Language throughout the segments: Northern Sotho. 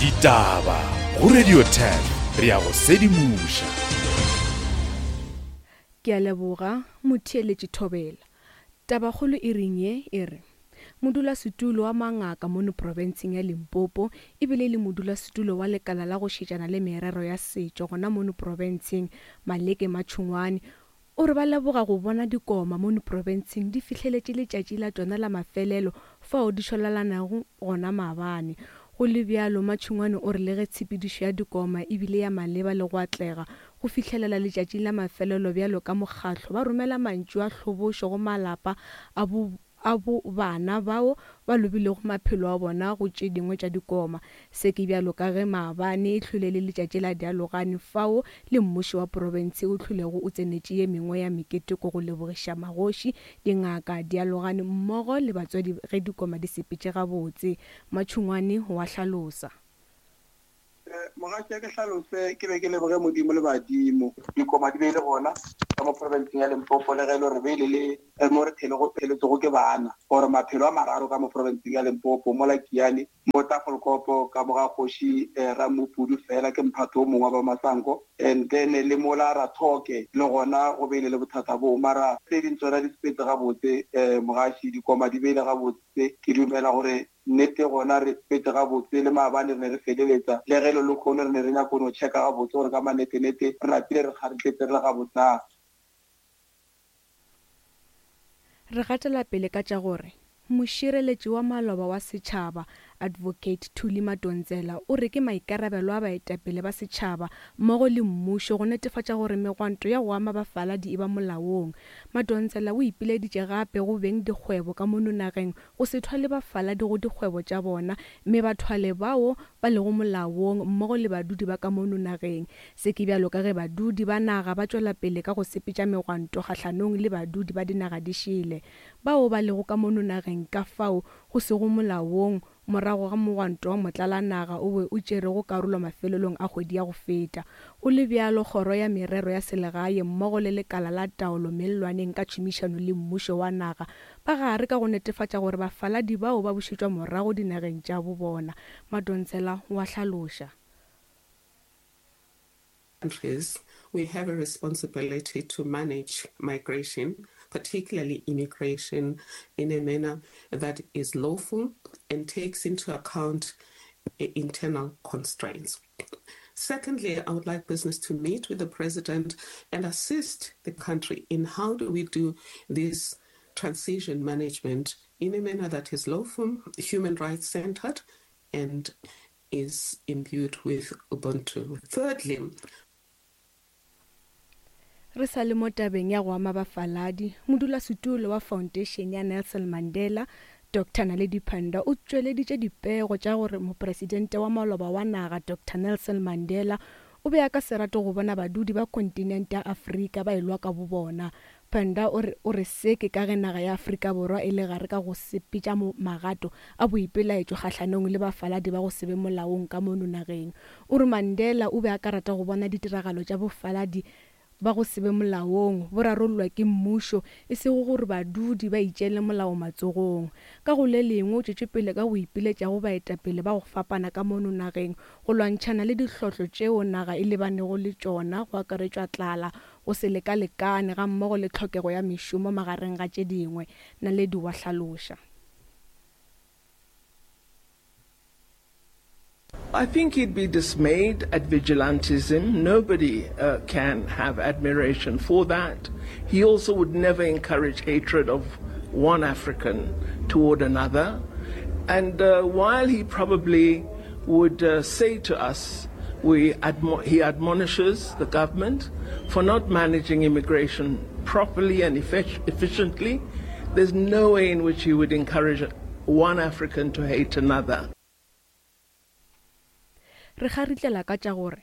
Ditaba go Radio 10 re ya go sedimoša. Ke a leboga, motheeletši Thobela. Tabakgolo e reng ye e re, Modulasetulo wa mangaka mono profenseng ya Limpopo ebile e le modulasetulo wa lekala la go šetšana le merero ya setšo gona mono profenseng, Maleke Matšhungwane, o re ba leboga go bona dikoma mono profenseng di fihleletše letšatši la tšona la mafelelo fao di šwalalanago gona maabane. Go le bjalo, Matšhungwane o re le ge tshepedišo ya dikoma e bile ya maleba le go atlega go fihlelela letšatši la mafelelo bjalo ka mokgatlo ba romela mantšu a hlobošo go malapa a bo a bo bana bao ba lobilego maphelo a bona go tše dingwe tša dikoma. Se ke bjalo ka ge maabane e hlwele le letšatši la dialogane fao le mmušo wa profense o hlwelego o tsenetše ye mengwe ya meketeko go lebogiša magoši, dingaka, dialogane mmogo le batswadi ge dikoma di sepetše gabotse. Matšhungwane wa hlalosa. Mogatša ke hlalose, ke be ke leboge Modimo le badimo. Dikoma di be e le gona ka mo profenseng ya Limpopo le ge e le gore be e le le mo re pheletšego ke bana gore maphelo a mararo ka mo profenseng ya Limpopo mola Kiane mo Tafelkopo ka mo ga kgoši Ramopudu fela ke mphato o mongwe wa ba Masango and then le mola Rathoke le gona go be e le le bothata boo mara tse ding tsona di sepetse gabotse mogaši dikoma di be e le gabotse ke dumela gore Nnete gona re sepetse gabotse, le maabane re ne re feleletsa, le ge le lekhono re ne re nyako no checka gabotse gore ka manetenete re napile re kgaritletse re le gabotse na. Re gatela pele ka tša gore mošireletši wa maloba wa setšhaba, Advocate Thuli Madonsela o re ke maikarabelo a baetapele ba setšhaba mmogo le mmušo go netefatša gore megwanto ya go ama bafaladi e ba molaong. Madonsela o ipileditše gape go beng dikgwebo ka mono nageng go se thwale bafaladi go dikgwebo tša bona mme ba thwale bao ba lego molaong mmogo le badudi ba ka mono nageng. Se ke bjalo ka ge badudi ba naga ba tšwela pele ka go sepetša megwanto kgahlanong le badudi ba dinaga di šele bao ba lego ka mono nageng ka fao go sego molaong morago ga mogwanto wa motlalanaga o be o tšerego karolo mafelelong a kgwedi ya go feta. Go le bjalo, Kgoro ya Merero ya Selegae mmogo le Lekala la Taolo Mellwaneng ka tšhomišano le mmušo wa naga ba gare ka go netefatša gore bafaladi bao ba bušetšwa morago dinageng tša bo bona, Madonsela o a hlaloša. Countries, we have a responsibility to manage migration, particularly immigration, in a manner that is lawful and takes into account internal constraints. Secondly, I would like business to meet with the president and assist the country in how do we do this transition management in a manner that is lawful, human rights centered, and is imbued with Ubuntu. Thirdly, Re sa le mo tabeng ya go ama bafaladi, modulasetulo wa Foundation ya Nelson Mandela, Doctor Naledi Pandor o tšweleditše dipego tša gore mopresidente wa maloba wa naga Doctor Nelson Mandela o be a ka se rate go bona badudi ba kontinente ya Afrika ba elwa ka bobona. Pandor o re o re se ke ka ge naga ya Afrika Borwa e le gare ka go sepetša magato a boipelaetšo kgahlanong le bafaladi ba go se be molaong ka mono nageng. O re Mandela o be a ka rata go bona ditiragalo tša bofaladi ba go se be molaong bo rarollwa ke mmušo, e sego gore badudi ba itšeele molao matsogong. Ka go le lengwe, o tšwetše pele ka go ipiletša go baetapele ba go fapana ka mono nageng go lwantšhana le dihlotlo tšeo naga e lebanego le tšona go akaretšwa tlala, go se lekalekane gammogo le tlhokego ya mešomo magareng ga tše dingwe, Naledi wa hlaloša. I think he'd be dismayed at vigilantism. Nobody uh, can have admiration for that. He also would never encourage hatred of one African toward another. And uh, while he probably would uh, say to us, we admo- he admonishes the government for not managing immigration properly and efficiently. There's no way in which he would encourage one African to hate another. Re kgaritlela ka tša gore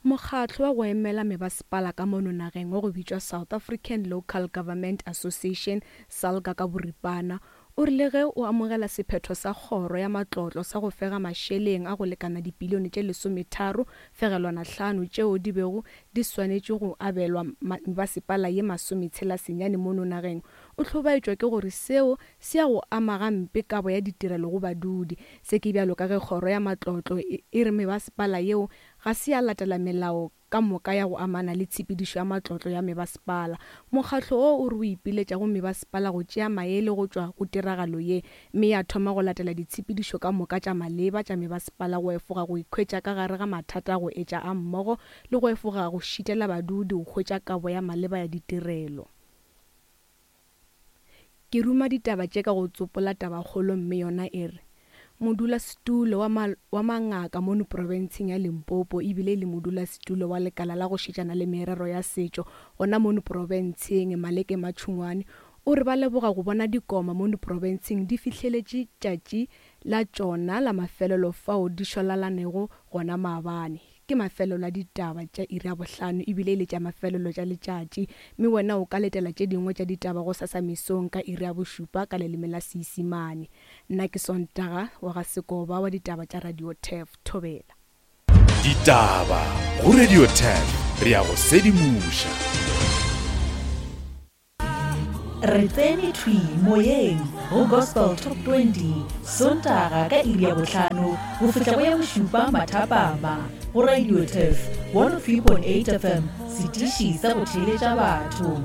mokgatlo wa go emela mebasepala ka mono nageng wa go bitšwa South African Local Government Association, SALGA ka boripana, O rile ge o amogela sephetho sa kgoro ya matlotlo sa go fega mašeleng a go lekana dipilione tše lesometharo fegelwana hlano tšeo di bego di swanetše go abelwa mebasepala ye masometshela senyane mono nageng, o hlobaetšwa ke gore seo se ya go ama gampe kabo ya ditirelo go badudi. Se ke bjalo ka ge kgoro ya matlotlo e re mebasepala yeo ga se ya latela melao ka moka ya go amana le tshepedišo ya matlotlo ya mebasepala. Mokgatlo wo o re o ipiletša go mebasepala go tšea maele go tšwa go tiragalo ye mme ya thoma go latela ditshepedišo ka moka tša maleba tša mebasepala go efoga go ikhwetša ka gare ga mathata a go etša a mmogo le go efoga go šitela badudi go hwetša kabo ya maleba ya ditirelo. Ke ruma ditaba tše ka go tsopola tabakgolo mme yona e re, Modulasetulo wa ma, wa mangaka mono profenseng ya Limpopo ebile e le modulasetulo wa lekala la go šetšana le merero ya setšo gona mono profenseng, Maleke Matšhungwane, o re ba leboga go bona dikoma mono profenseng di fihleletše tšatši la tšona la mafelelo fao di šwalalanego gona maabane. Ke mafelelo a ditaba tša iri ya bohlano ebile e le tša mafelelo tša letšatši, mme wena o ka letela tše dingwe tša ditaba gosasa mesong ka iri ya bošupa ka leleme la Seisimane. Nna ke Sontaga wa ga Sekoba wa ditaba tša Radio Turf. Thobela. Ditaba go Radio Turf, re a go sedimoša. Re tsene thwi moyeng go Gospel Top 20 Sontaga ka iri ya bohlano go fihla go ya bošupa mathapama go Radio Turf 103.8 FM, setiši sa go theeletša batho.